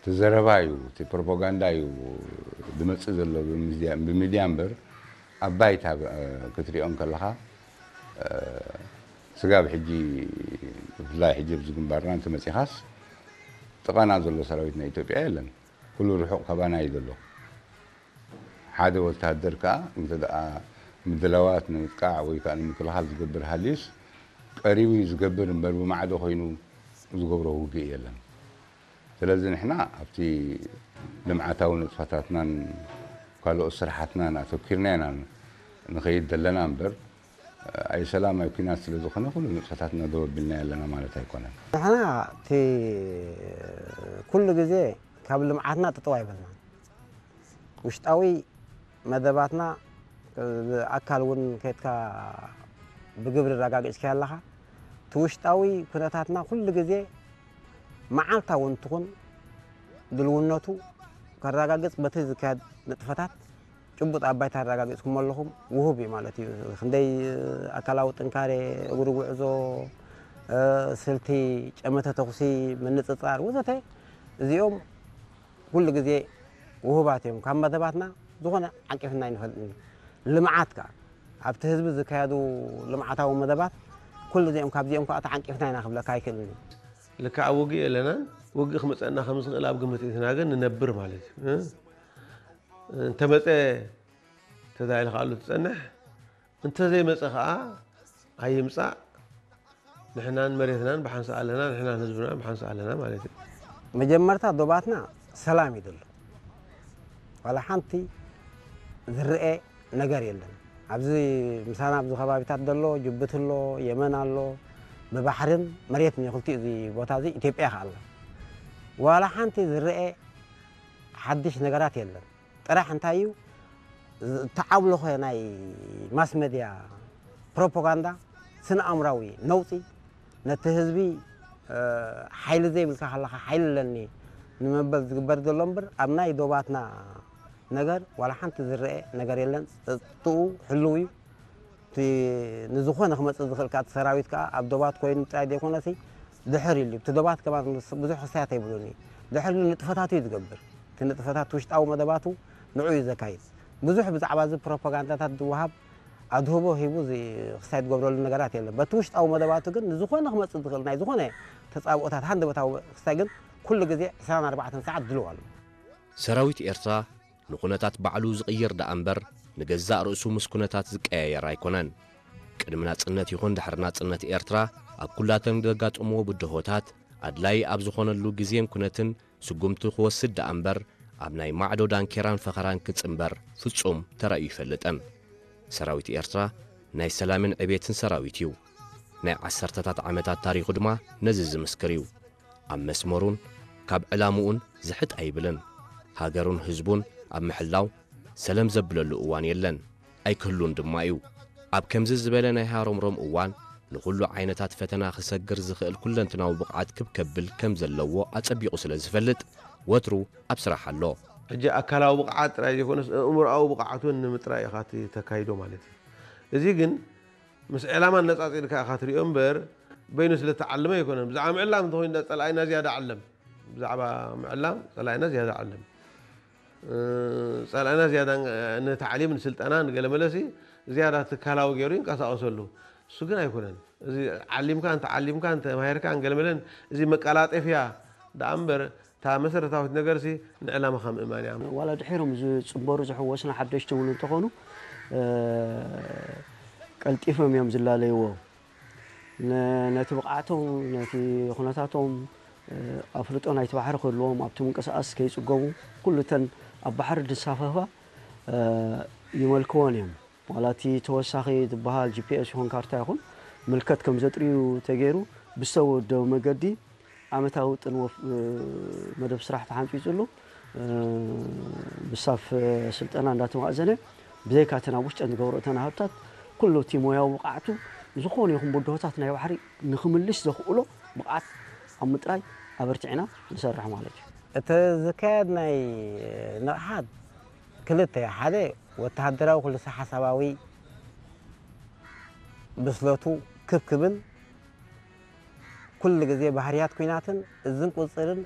እቲ ዘረባ እዩ፣ እቲ ፕሮፓጋንዳ እዩ ዝመጽእ ዘሎ ብሚድያ እምበር ኣብ ባይታ ክትሪኦ እንከለኻ ስጋብ ሕጂ ብፍላይ ሕጂ ኣብዚ ግንባርና እንተመጺኻስ ጥቓና ዘሎ ሰራዊት ናይ ኢትዮጵያ የለን። ኩሉ ርሑቕ ካባና እዩ ዘሎ። ሓደ ወተሃደር ከኣ እንተ ደኣ ምድላዋት ንምጥቃዕ ወይ ከኣ ንምክልኻል ዝገብር ሃልዩስ ቀሪቡ እዩ ዝገብር እምበር ብማዕዶ ኮይኑ ዝገብሮ ውግእ የለን። ስለዚ ንሕና ኣብቲ ልምዓታዊ ንጥፈታትናን ካልኦት ስራሓትናን ኣተኪርና ኢና ንኸይድ ዘለና እምበር ኣይ ሰላም ኣይ ኲናት ስለ ዝኾነ ኩሉ ንጥፈታትና ደው ኣቢልና ኣለና ማለት ኣይኮነን። ንሕና እቲ ኩሉ ግዜ ካብ ልምዓትና ጥጥው ኣይበልናን። ውሽጣዊ መደባትና ብኣካል እውን ከይድካ ብግብሪ ኣረጋጊፅካዮ ኣለኻ። እቲ ውሽጣዊ ኩነታትና ኩሉ ግዜ መዓልታዊ እንትኹን ድልውነቱ ከረጋግፅ በቲ ዝካየድ ንጥፈታት ጭቡጥ ኣብ ባይታ ኣረጋጊፅኩም ኣለኹም ውሁብ እዩ ማለት እዩ። ክንደይ ኣካላዊ ጥንካሬ፣ እግሪ ጉዕዞ፣ ስልቲ፣ ጨመተ ተኹሲ፣ ምንፅፃር ወዘተ እዚኦም ኩሉ ግዜ ውሁባት እዮም። ካብ መደባትና ዝኾነ ዓቂፍና ኣይንፈልጥን እዩ። ልምዓት ከኣ ኣብቲ ህዝቢ ዝካየዱ ልምዓታዊ መደባት ኩሉ እዚኦም ካብዚኦም ከኣ ተዓንቂፍና ኢና ክብለካ ኣይክእልን እዩ። ልክዕ ኣብ ውግእ የለናን። ውግእ ክመፀና ከም ዝኽእል ኣብ ግምት እትና ግን ንነብር ማለት እዩ። እ? እንተመፀ ተዛይልካ ኣሉ ትፀንሕ። እንተዘይመፀ ከዓ ኣይምፃእ። ንሕናን መሬትናን ብሓንሳእ ኣለና፣ ንሕናን ህዝብናን ብሓንሳእ ኣለና ማለት እዩ። መጀመርታ ዶባትና ሰላም ይደሉ። ዋላ ሓንቲ ዝረአ ነገር የለን። ኣብዚ ምሳና ኣብዚ ከባቢታት ዘሎ ጅቡቲ ኣሎ፣ የመን ኣሎ፣ ብባሕርን መሬትን እዩ ክልቲኡ እዚ ቦታ እዚ ኢትዮጵያ ከኣ ኣሎ። ዋላ ሓንቲ ዝረአ ሓድሽ ነገራት የለን። ጥራሕ እንታይ እዩ ዝተዓብለኸ ናይ ማስ መድያ ፕሮፓጋንዳ ስነ ኣእምራዊ ነውፂ ነቲ ህዝቢ ሓይሊ ዘይብልካ ከለኻ ሓይሊ ኣለኒ ንመበል ዝግበር ዘሎ እምበር ኣብ ናይ ዶባትና ነገር ዋላ ሓንቲ ዝረአ ነገር የለን። ፀጥትኡ ሕልው እዩ። እቲ ንዝኾነ ክመፅእ ዝኽእል ከዓ እቲ ሰራዊት ከዓ ኣብ ዶባት ኮይኑ ጥራይ ዘይኮነሲ ድሕር ኢሉ እቲ ዶባት ከማን ብዙሕ ክሳያት ኣይብሉን እዩ። ድሕር ኢሉ ንጥፈታቱ እዩ ዝገብር። እቲ ንጥፈታት ውሽጣዊ መደባቱ ንዑ እዩ ዘካይድ። ብዙሕ ብዛዕባ እዚ ፕሮፓጋንዳታት ዝወሃብ ኣድህቦ ሂቡ እዚ ክሳይ ዝገብረሉ ነገራት የለን። በቲ ውሽጣዊ መደባቱ ግን ንዝኾነ ክመፅእ ዝኽእል ናይ ዝኾነ ተፃብኦታት ሃንደበታዊ ክሳይ ግን ኩሉ ግዜ ዕስራን ኣርባዕተን ሰዓት ድልው ኣሎ። ሰራዊት ኤርትራ ንኹነታት ባዕሉ ዝቕይር ደኣ እምበር ንገዛእ ርእሱ ምስ ኩነታት ዝቀያየር ኣይኮነን። ቅድሚ ናጽነት ይኹን ድሕሪ ናጽነት ኤርትራ ኣብ ኩላተን ዘጋጠምዎ ብድሆታት ኣድላዪ ኣብ ዝኾነሉ ግዜን ኩነትን ስጉምቲ ክወስድ ደኣ እምበር ኣብ ናይ ማዕዶ ዳንኬራን ፈኸራን ክጽንበር ፍጹም ተራእዩ ኣይፈልጥን። ሰራዊት ኤርትራ ናይ ሰላምን ዕቤትን ሰራዊት እዩ። ናይ ዓሰርተታት ዓመታት ታሪኹ ድማ ነዚ ዝምስክር እዩ። ኣብ መስመሩን ካብ ዕላምኡን ዝሕጥ ኣይብልን። ሃገሩን ህዝቡን ኣብ ምሕላው ሰለም ዘብለሉ እዋን የለን፣ ኣይክህሉን ድማ እዩ። ኣብ ከምዚ ዝበለ ናይ ሃሮምሮም እዋን ንኹሉ ዓይነታት ፈተና ክሰግር ዝኽእል ኩለንትናዊ ብቕዓት ክብ ከብል ከም ዘለዎ ኣጸቢቑ ስለ ዝፈልጥ ወትሩ ኣብ ስራሕ ኣሎ። ሕጂ ኣካላዊ ብቕዓት ጥራይ ዘይኮነስ ኣእምሮኣዊ ብቕዓት እውን ንምጥራይ ኢኻ እቲ ተካይዶ ማለት እዩ። እዚ ግን ምስ ዕላማ ኣነጻጺርካ ኢኻ ትሪኦ እምበር በይኑ ስለ ተዓለመ ኣይኮነን። ብዛዕባ ምዕላም እንተኾይኑ ጸላኢና ዝያዳ ዓለም። ብዛዕባ ምዕላም ጸላኢና ዝያዳ ዓለም። ጸላኢና ዝያዳ ንታዕሊም ንስልጠና ንገለመለሲ ዝያዳ ትካላዊ ገይሩ ይንቀሳቐሰሉ። እሱ ግን ኣይኮነን። እዚ ዓሊምካ እንተ ዓሊምካ እንተ ተማሂርካ ንገለመለን እዚ መቀላጠፍያ ደኣ እምበር እታ መሰረታዊት ነገርሲ ንዕላማኻ ምእማን እያ። ዋላ ድሒሮም ዝፅንበሩ ዝሕወስና ሓደሽቲ እውን እንተኾኑ ቀልጢፎም እዮም ዝላለይዎ። ነቲ ብቕዓቶም ነቲ ኩነታቶም ኣፍልጦ ናይቲ ባሕሪ ክህልዎም ኣብቲ ምንቅስቃስ ከይፅገሙ ኩሉ እተን ኣብ ባሕሪ ዝሳፈፋ ይመልክወን እዮም። ዋላ እቲ ተወሳኺ ዝበሃል ጂፒኤስ ይኹን ካርታ ይኹን ምልከት ከም ዘጥርዩ ተገይሩ ብዝተወደበ መገዲ ዓመታዊ ውጥን ወፍ መደብ ስራሕ ተሓንፂፅሉ ብስታፍ ስልጠና እንዳተማእዘነ ብዘይካ እተን ኣብ ውሽጠን ዝገብሮ እተን ሃብታት ኩሉ እቲ ሞያዊ ብቕዓቱ ዝኾነ ይኹን ብድሆታት ናይ ባሕሪ ንክምልስ ዘኽእሎ ብቕዓት ኣብ ምጥራይ ኣበርቲዕና ንሰርሕ ማለት እዩ። እቲ ዝካየድ ናይ ንቕሓት ክልተ ሓደ ወተሃደራዊ ኩልሰ ሓሳባዊ ብስለቱ ክብ ክብል ኩሉ ግዜ ባህርያት ኲናትን እዝን ቁፅርን